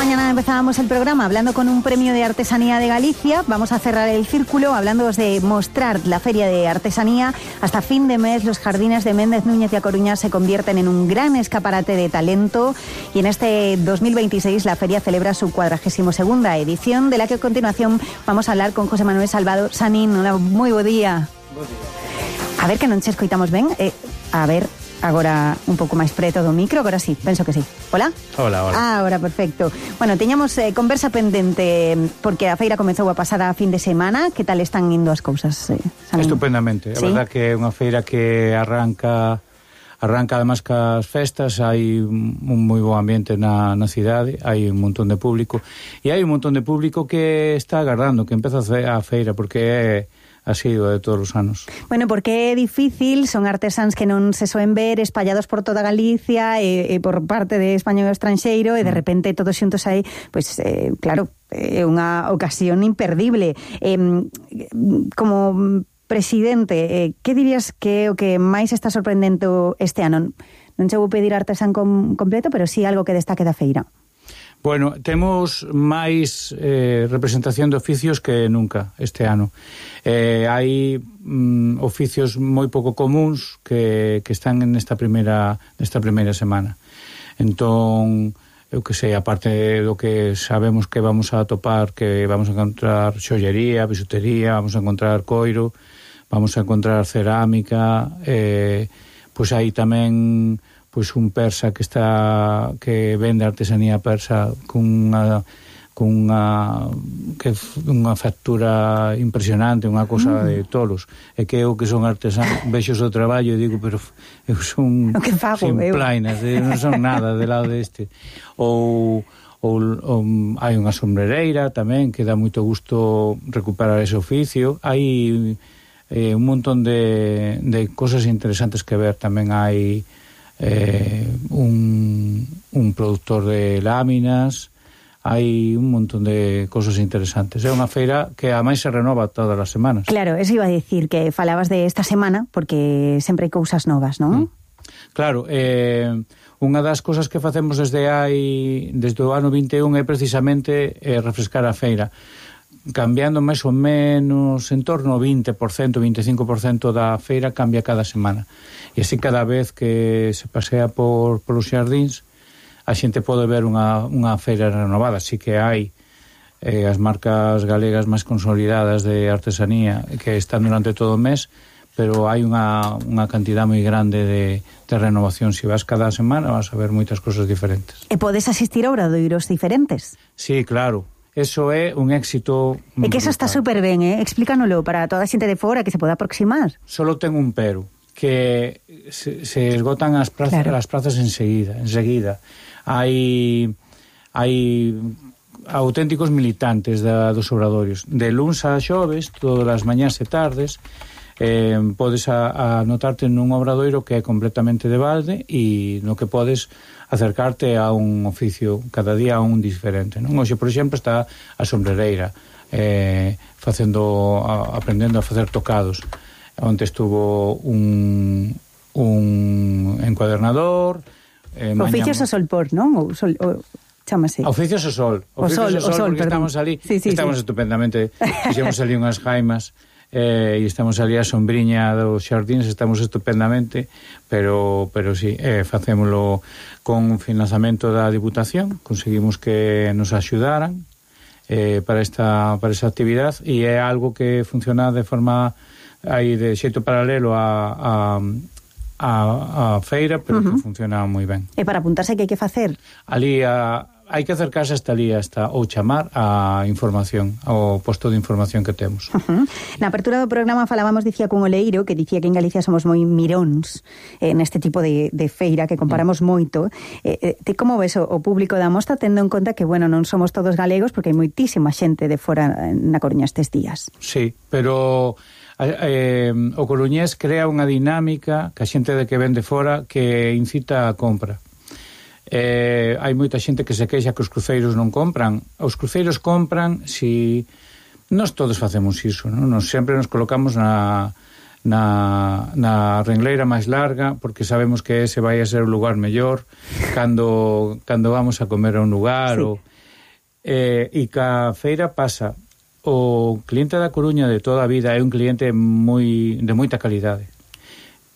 mañana empezábamos el programa hablando con un premio de artesanía de Galicia. Vamos a cerrar el círculo hablando de mostrar la Feria de Artesanía. Hasta fin de mes, los jardines de Méndez Núñez y A Coruña se convierten en un gran escaparate de talento. Y en este 2026 la feria celebra su 42ª edición, de la que a continuación vamos a hablar con José Manuel Salvado Sanín. Hola, moi bo día. Bo día. A ver, que non che escoitamos ben. A ver... Agora un pouco máis preto do micro, agora sí, penso que sí. Hola? Hola. Ahora, perfecto. Bueno, teñamos conversa pendente, porque a feira comezou a pasada fin de semana. Que tal están indo as cousas? Estupendamente. ¿Sí? A verdad que é unha feira que arranca además cas festas, hai un moi bo ambiente na cidade, hai un montón de público, e hai un montón de público que está agardando que empeza a feira, porque é así de todos os anos. Bueno, porque é difícil, son artesáns que non se soen ver, espallados por toda Galicia e por parte de España e estranxeiro, e de repente todos xuntos aí, pois, claro, é unha ocasión imperdible. Como presidente, que dirías que é o que máis está sorprendendo este ano? Non chego a pedir artesán completo, pero sí algo que destaque da feira. Bueno, temos máis representación de oficios que nunca este ano. Hai oficios moi pouco comuns que están nesta primeira semana. Entón, eu que sei, aparte do que sabemos que vamos a atopar, que vamos a encontrar xollería, bisutería, vamos a encontrar coiro, vamos a encontrar cerámica, pois hai tamén un persa que vende artesanía persa cunha factura impresionante, unha cousa de tolos. É que eu que son artesán vexo o seu traballo e digo, pero eu son simplainas, non son nada de lado deste. Ou hai unha sombrereira tamén que dá moito gusto recuperar ese oficio. Hai un montón de cosas interesantes que ver. Tamén hai un productor de láminas, hai un montón de cosas interesantes. É unha feira que ademais se renova todas as semanas. Claro, eso iba a decir, que falabas de esta semana porque sempre hai cousas novas, non? Claro, unha das cosas que facemos desde o ano 21 é precisamente refrescar a feira, cambiando máis ou menos en torno ao 20%, 25% da feira cambia cada semana. E así cada vez que se pasea polos xardíns a xente pode ver unha feira renovada. Así que hai as marcas galegas máis consolidadas de artesanía que están durante todo o mes, pero hai unha cantidad moi grande de renovación. Se vas cada semana vas a ver moitas cosas diferentes. E podes asistir a obradoiros diferentes? Sí, claro. Eso é un éxito. E que eso está super ben, explícanolo para toda a xente de fora que se poda aproximar. Solo ten un pero, que se esgotan as prazas, claro, as prazas enseguida. Hai auténticos militantes dos obradoios. De luns a xoves, todas as mañás e tardes, podes anotarte nun obradoiro que é completamente de balde e no que podes acercarte a un oficio cada día a un diferente, non? Hoxe, por exemplo, está a sombrereira aprendendo a facer tocados, onde estuvo un encuadernador, oficios o solpor, non? Chámase. Oficios o sol, porque estamos ali, estamos estupendamente, fixemos ali unhas jaimas, e estamos ali a sombriña dos xardíns, estamos estupendamente, pero sí, facémolo con financiamento da Diputación, conseguimos que nos axudaran para esta actividade, e é algo que funciona de forma de xeito paralelo a feira, pero que funciona moi ben. E para apuntarse, que hai que facer? Ali hai que acercarse hasta ali, ou chamar a información, ao posto de información que temos. Na apertura do programa falábamos, dicía cun oleiro, que dicía que en Galicia somos moi miróns neste tipo de feira, que comparamos moito. Ti como ves o público da mostra, tendo en conta que, bueno, non somos todos galegos, porque hai moitísima xente de fora na Coruña estes días? Sí, pero o coruñés crea unha dinámica que a xente de que ven de fora que incita a compra. Hai moita xente que se queixa que os cruceiros non compran. Os cruceiros compran si nós todos facemos iso, non? Nos sempre nos colocamos na rengleira máis larga, porque sabemos que ese vai a ser o lugar mellor cando vamos a comer a un lugar, sí. E ca feira pasa o cliente da Coruña de toda a vida é un cliente de moita calidade,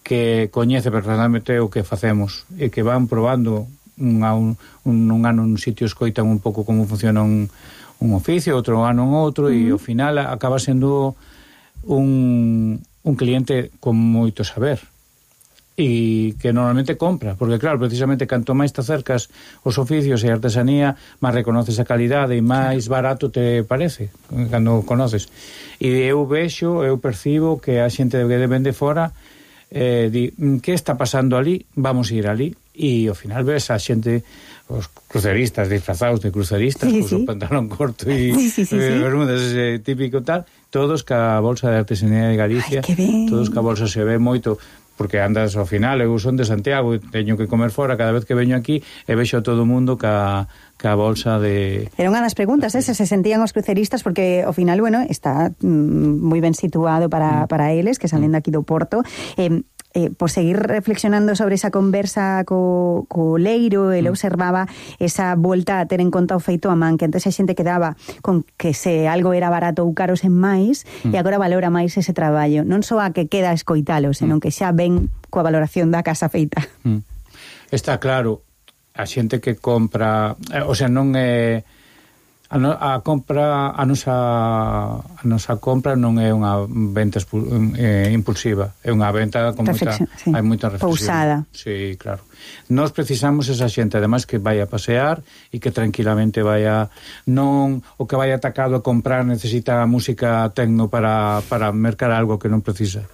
que coñece perfectamente o que facemos e que van probando un ano nun sitio escoitan un pouco como funciona un oficio, outro ano en outro, e ao final acaba sendo un cliente con moito saber e que normalmente compra, porque claro, precisamente canto máis te acercas os oficios e a artesanía, máis reconoces a calidade e máis barato te parece cando conoces. E eu percibo que a xente que vende fora di, que está pasando ali? Vamos a ir ali. E ao final ves a xente, os cruceristas disfrazados de cruceristas, o pantalón corto e bermudas típico tal, todos ca bolsa de artesanía de Galicia. Todos ca bolsa se ve moito, porque andas ao final, eu son de Santiago e teño que comer fora cada vez que veño aquí e vexo a todo o mundo ca bolsa de... Era unha das preguntas, se sentían os cruceristas, porque ao final, bueno, está moi ben situado para eles, que salen daqui do Porto. Por seguir reflexionando sobre esa conversa co Leiro, ele observaba esa volta a ter en conta o feito a man, que antes a xente quedaba con que se algo era barato ou caro sen máis, e agora valora máis ese traballo, non só a que queda escoitalo, senón que xa ven coa valoración da casa feita. Está claro, a xente que compra, o sea, non é a nosa compra non é unha venta impulsiva, é unha venta con hai moita reflexión. Pousada. Sí, claro. Nós precisamos esa xente, ademais, que vai a pasear e que tranquilamente vai non o que vai atacado a comprar necesita música tecno para mercar algo que non precisa.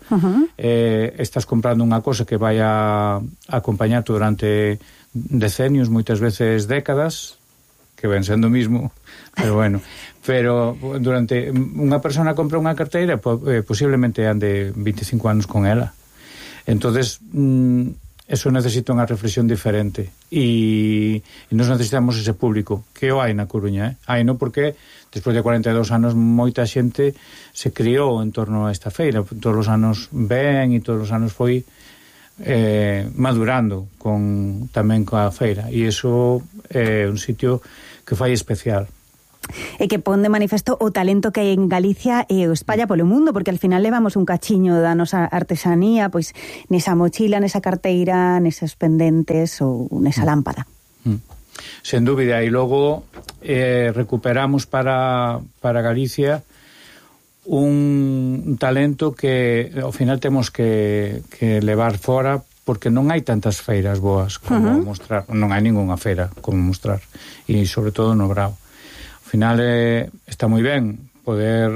Estás comprando unha cosa que vai a acompañarte durante decenios, moitas veces décadas, que ven sendo mismo, pero bueno, durante unha persona compra unha carteira, posiblemente ande 25 anos con ela. Entonces, eso necesita unha reflexión diferente e nos necesitamos ese público que o hai na Coruña, hai no porque despois de 42 anos moita xente se criou en torno a esta feira, todos os anos ven e todos os anos foi madurando tamén coa feira, e iso é un sitio que fai especial. E que pon de manifesto o talento que hai en Galicia e o espalla polo mundo, porque al final levamos un cachiño da nosa artesanía, pois nesa mochila, nesa carteira, neses pendentes ou nesa lámpada. Sen dúbida, e logo recuperamos para Galicia un talento que ao final temos que levar fora, porque non hai tantas feiras boas como mostrar, non hai ningunha feira como mostrar, e sobre todo no Brao. Ao final está moi ben poder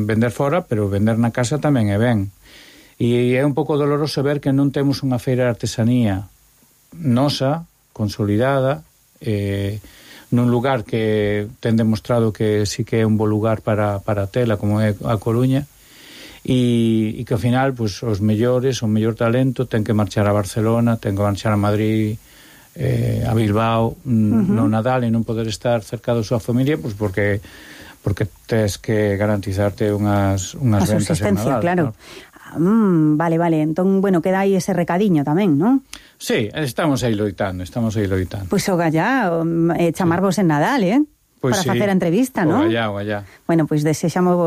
vender fora, pero vender na casa tamén é ben. E é un pouco doloroso ver que non temos unha feira de artesanía nosa, consolidada, nun lugar que ten demostrado que sí que é un bo lugar para tela, como é a Coruña, e que ao final pues, os mellores, o mellor talento ten que marchar a Barcelona, ten que marchar a Madrid, a Bilbao no Nadal, e non poder estar cerca da súa familia, pues porque tes que garantizarte unhas ventas en Nadal, claro. Vale, entón, bueno, queda aí ese recadiño tamén, non? Sí, estamos aí loitando. Pois o gallá, chamarvos en Nadal, Pues para facer a entrevista, non? O gallá. Bueno, pois desexamos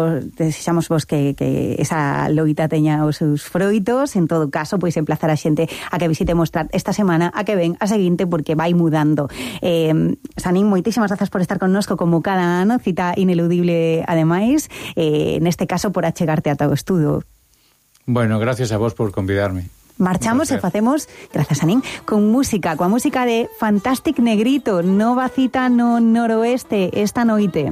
vos que esa loita teña os seus froitos. En todo caso, pois emplazar a xente a que visite Mostrar esta semana, a que ven a seguinte, porque vai mudando. Sanín, moitísimas grazas por estar connosco como cada ano, cita ineludible ademais, neste caso por achegarte ata o estudo. Bueno, gracias a vos por convidarme. Marchamos e facemos, grazas a nin, con música, coa música de Fantastic Negrito, nova cita no noroeste esta noite.